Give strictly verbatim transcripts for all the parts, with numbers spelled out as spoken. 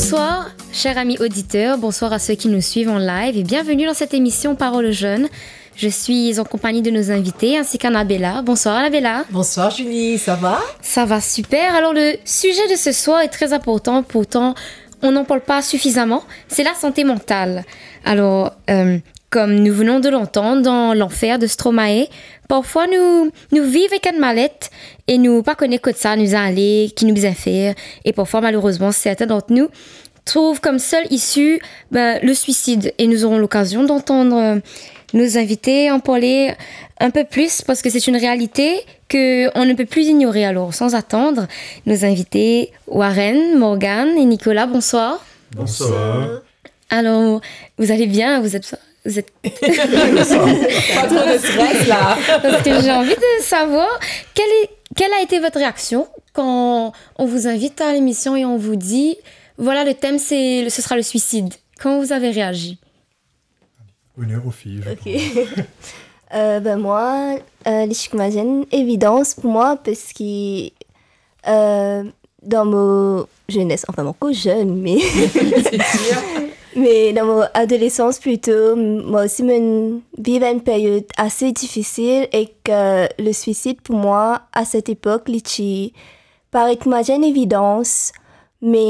Bonsoir, chers amis auditeurs, bonsoir à ceux qui nous suivent en live et bienvenue dans cette émission Parole aux jeunes. Je suis en compagnie de nos invités ainsi qu'Anabella. Bonsoir Anabella. Bonsoir Julie, ça va ? Ça va super. Alors le sujet de ce soir est très important, pourtant on n'en parle pas suffisamment, c'est la santé mentale. Alors, euh, comme nous venons de l'entendre dans L'enfer de Stromae, parfwa nou, nou viv ek enn malet e nou pa kone kot sa nou ale, ki nou bizin fer, e parfwa malerezman sertin d'ant nou trouv kom sel isi, ben, le suicide. Et nous aurons l'occasion d'entendre, euh, nos invités en parler un peu plus parce que c'est une réalité que on ne peut plus ignorer. Alors, sans attendre, nos invités Warren, Morgan et Nicolas, bonsoir. Bonsoir. Alors, vous allez bien ? Vous êtes, vous êtes Pas trop de stress là. Parce que j'ai envie de savoir quelle est, quelle a été votre réaction quand on vous invite à l'émission et on vous dit, voilà, le thème, c'est, ce sera le suicide. Comment vous avez réagi ? Honneur aux filles, je Ok. Euh, ben moi, euh, li ti kouma enn evidans pou mwa, parski euh, dan mo jenes, anfin, mo ankor zenn, me me dan mo adolesans plito, mwa osi mo'nn viv enn peryod ase difisil, ek le swisid pou mwa, a set epok, li ti paret kouma enn evidans, me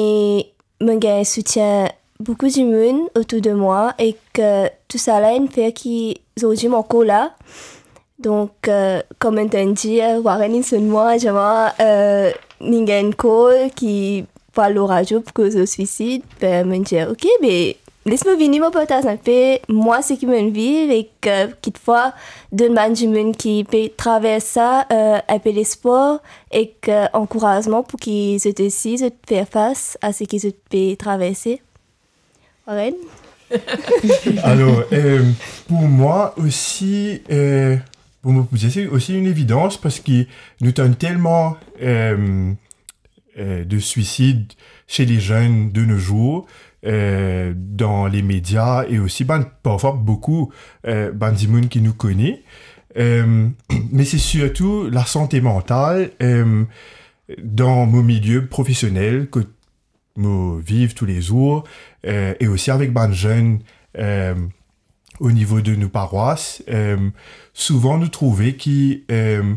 mo'nn gagn soutien boukou dimoun otour de mwa, ek tousala inn fer ki zordi mo ankor la. Donk, euh, kouma mo'nn dir, Warren inn sonn mwa, dir mwa, euh, inn gagn enn call ki pou al lor radio pou koz lor swisid. Be, mo'nn dir, ok, be, les mo vini, mo partaz inpe mwa seki mo'nn viv, ek, euh, kitfwa donn bann dimoun ki pe travers sa, euh, inpe lespwar ek, euh, ankourazman pou ki zot osi, zot fer fas a seki zot pe traverse. Warren ? Alors, euh, pour moi aussi, euh, pour moi, c'est aussi une évidence parce que nous avons tellement euh, euh, de suicides chez les jeunes de nos jours, euh, dans les médias et aussi ben, parfois beaucoup euh, ben, du monde qui nous connaît. Euh, mais c'est surtout la santé mentale euh, dans mon milieu professionnel que mo viv toulezour, euh, e osi avek bann zenn, euh, o nivo de nou parwas, euh, souvan nou trouve ki, euh,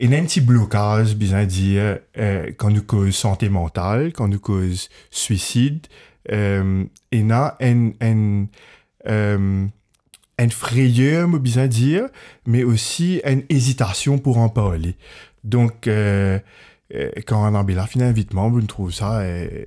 ena enn ti blokaz, bizin dir, euh, kan nou koz sante mantal, kan nou koz swisid, euh, ena enn, enn, euh, enn freyer, mo bizin dir, me osi enn ezitasion pou an parle. Donk, euh, euh, kan Anabella finn invit mwa, mo trouv sa, euh,